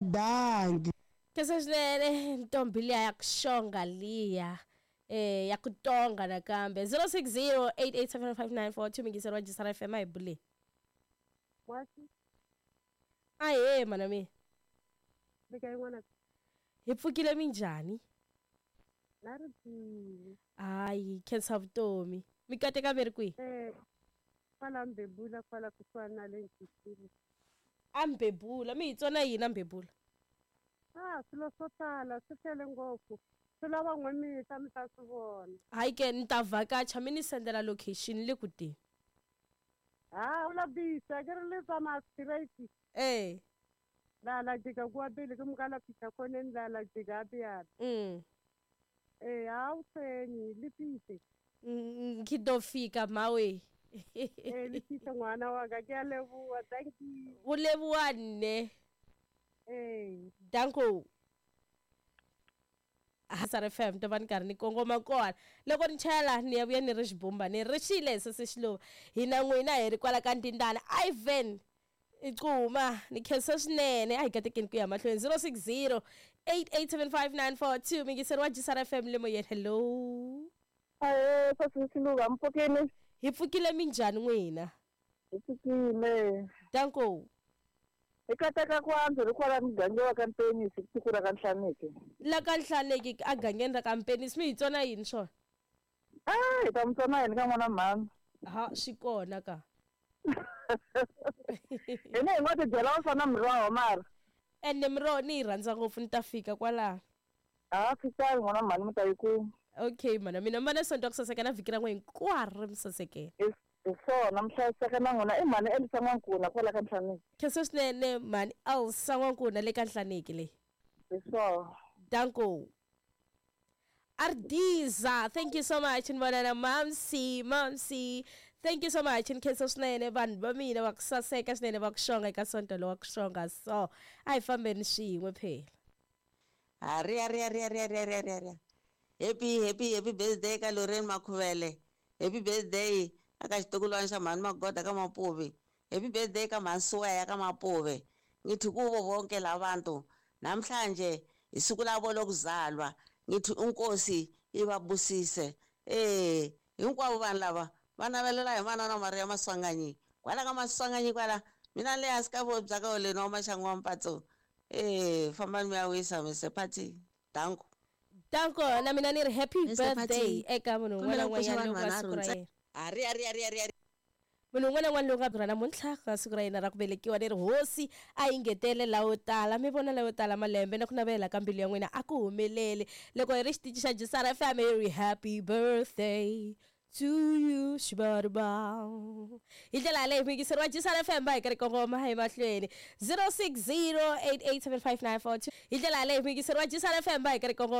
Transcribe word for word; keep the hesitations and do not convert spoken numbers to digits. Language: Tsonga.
Dangi. Khensa swinene ntombi liya ya ku xonga liya eh ya ku tonga nakambe zero six zero eight eight seven five nine four two mingiseri wa Jisara F M a hi buleni. Ahee mana mina. Hi pfukile minjhani? Hayi khensa vutomi. Mi kateka mi ri kwihi? Eh kwala Mbebula kwala kusuhani na le Ntshisini. A Mbebula mi hi tsona yini a Mbebula? Ah swilo swo tala swi tele ngopfu. Swi lava n'we mi ta mi ta swi vona. Hayi ke ni ta vhakacha mi ni sendela location le ku teni. Ah u la bisa ke ri le tsamaya straight. Eh. La la jika kwa pele ke mukala fihla khoneni la la jika ya. Mm. Eh a wu tsenyi le pise. Ngi do fika mawe. Eh le pise ngwana wa ka ke a leboha thank you. U leboha nne. Eh danko. Hasar F M to va ni karhi ni kongoma kona loko ni chayela ni ya vuya ni ri xibumba ni ri xile se se xiluva hina n'wina hi ri kwala ka Ndindana Ivan Icuma ni khensa swinene a hi katekeni ku ya mahlweni zero six zero eight eight seven five nine four two mingiseri wa Jisara F M le moyeni hello. Ahee sesi Xiluva mpfukini. Hi pfukile minjhani n'wina? Hi pfukile. Danko. Hi kateka ku antswa ri kwala muganga wa ka Mpenisi tiko ra ka Nhlaneki. La ka Nhlaneki a gangeni ra ka Mpenisi mi hi tsona yini swona? Ah hi ta mi tsona yini ka n'wana mhani? Ha swi kona ka. Hina hi ngo ti byela wo fana miroho mara. Ene miroho ni yi rhandza ngopfu ni ta fika kwalaho. A fikani n'wana mhani mi ta yi kuma. Okay mana mina mi va na sonto ku saseka na vhiki ra n'we hinkwaro mi sasekela. Hi swona mi hlayiseka na n'wina i mhani Elsa N'wankuna kwala ka Nhlaneki. Khensa swinene mhani Elsa N'wankuna le ka Nhlaneki leyi. Hi swona. Danko. Ardiza, thank you so much ni vona na Mamsi, Mamsi. Thank you so much ni khensa swinene vanhu va mina va ku saseka swinene va ku xonga eka sonto lowa ku xonga so a hi fambeni swin'we phela. Ari ari ari ari ari ari ari. Happy happy happy birthday ka Lorraine Makhuvele. Happy birthday aka xitukulwana xa mhani Magoda ka Mapuve. Happy birthday ka mhani Suweya ka Mapuve. Ngithi kubo bonke labantu namhlanje isuku labo lokuzalwa ngithi unkosi ibabusise. Eh hinkwavo vanhu lava va navelela hi manana Maria Maswanganyi kwala ka Maswanganyi kwala mina le hansi ka vo bya ka oleni wa maxangu wa mpatso. Eh fambani mi ya wisa Mister Party. Danko. Danko na mina ni ri happy birthday eka munhu un'wana na un'wanyana loko a siku ra yena. Ari ari ari ari ari. Munhu un'wana na un'wana lowu nga byi namuntlha ka siku ra yena ra ku velekiwa ni ri hosi a yi ngetele lawo tala mi vona lawo tala malembe na ku navela ka mbilu ya n'wina a ku humelele loko hi ri xitichi xa Jisara F M hi ri happy birthday to you xibarba. Hi ndlela yaleyo mingiseri wa Jisara F M va hi karhi kongoma hi mahlweni zero six zero eight eight seven five nine four two hi ndlela yaleyo mingiseri wa Jisara F M va hi karhi kongoma.